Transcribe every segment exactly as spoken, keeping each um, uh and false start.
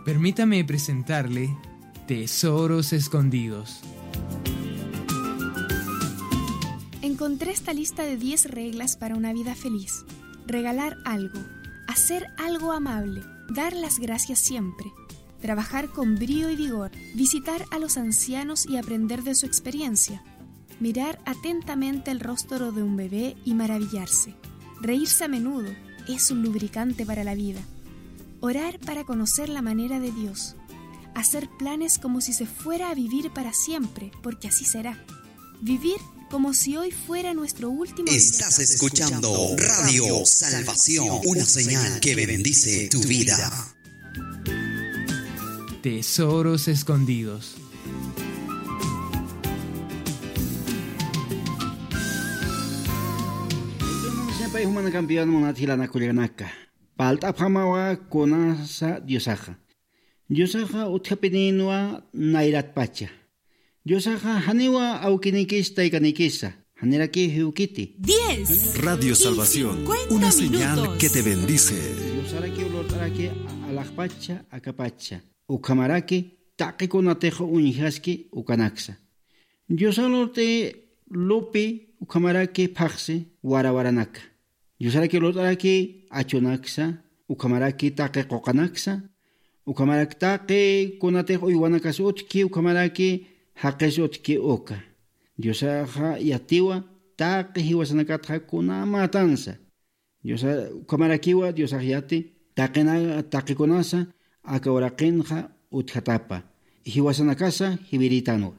Permítame presentarle Tesoros Escondidos. Encontré esta lista de diez reglas para una vida feliz. Regalar algo, hacer algo amable, dar las gracias siempre, trabajar con brío y vigor, visitar a los ancianos y aprender de su experiencia, mirar atentamente el rostro de un bebé y maravillarse, reírse a menudo, es un lubricante para la vida, orar para conocer la manera de Dios, hacer planes como si se fuera a vivir para siempre, porque así será, vivir como si hoy fuera nuestro último día. Estás escuchando Radio Salvación, una señal que bendice tu vida. Tesoros Escondidos. Pay jumana campeón munat jilanakullakanaka. Palt'apxamawa kunasa Diosaxa. Diosaxa utjapininwa nayratpacha. Diosaxa janiwa awkinikis taykanikisa, janirakiw jiwkiti. Diez. Radio Salvación, una señal que te bendice. Diosarakiw lurt'araki alaxpacha, akapacha. Ukhamaraki taqi kunatix uñjaski ukanaksa. Diosa lurt'i lupi ukhamaraki phaxsi warawaranaka. Diosaraki lurt'araki achunaksa, ukhamaraki taqi quqanaksa, ukhamaraki taqi kunatix uywanakas utjki, ukhamaraki jaqis utjki uka. Diosaxa yatiwa taqi jiwasanakatxa kunamätansa. Diosa, ukhamarakiwa Diosax yati taqina, taqikunasa aka uraqinxa utjatapa, jiwasanakasa jiwiritanwa.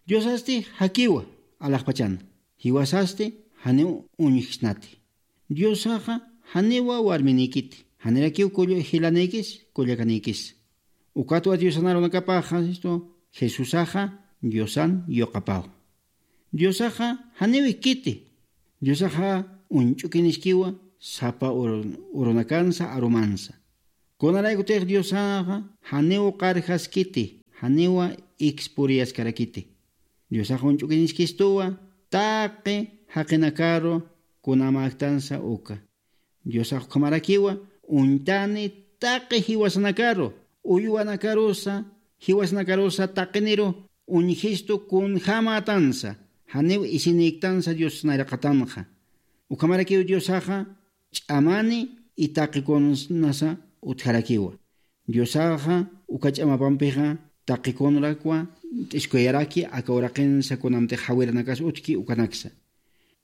Diosasti jakiwa alaxpachana, jiwasasti janiw uñjsnati. Diosaxa janiwa warminikiti, janirakiw kull-, jilanikis, kullakanikis. Ukatwa Diosan arunakapaxa, esto, Jesusaxa Diosan yuqapaw. Diosaxa janiw ikkiti. Diosaxa uñch'ukiniskiwa sapa ur-, urunakansa arumansa. Kunaraykutix Diosaxa janiw qarjaskiti, janiwa ikspuriyaskarakiti. Diosax uñch'ukiniskistuwa taqi jaqinakaru kunamäktansa uka. Diosax ukhamarakiwa uñtani taqi jiwasanakaru, uywanakarusa, jiwasanakarusa taqiniru uñjistu kunjämätansa, janiw isinïktansa Dios nayraqatanxa. Ukhamarakiw Diosaxa ch'amani y taqikunasa utjarakiwa. Diosaxa uka ch'amapampixa taqikunrakwa t'iskuyaraki aka uraqinsa kunamtix jawiranakas utjki ukanaksa.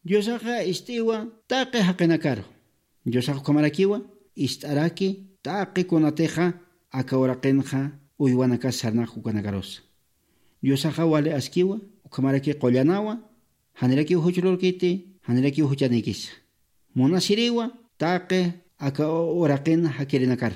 Diosaxa ist'iwa taqi jaqinakaru. Diosax ukhamarakiwa ist'araki taqi kunatixa aka uraqinxa uywanakas sarnaq ukanakarusa. Diosaxa wali askiwa, ukhamaraki qullanawa, janirakiw juch lurkiti, janirakiw juchanikisa. Munasiriwa taqi aka uraqin jakirinakaru.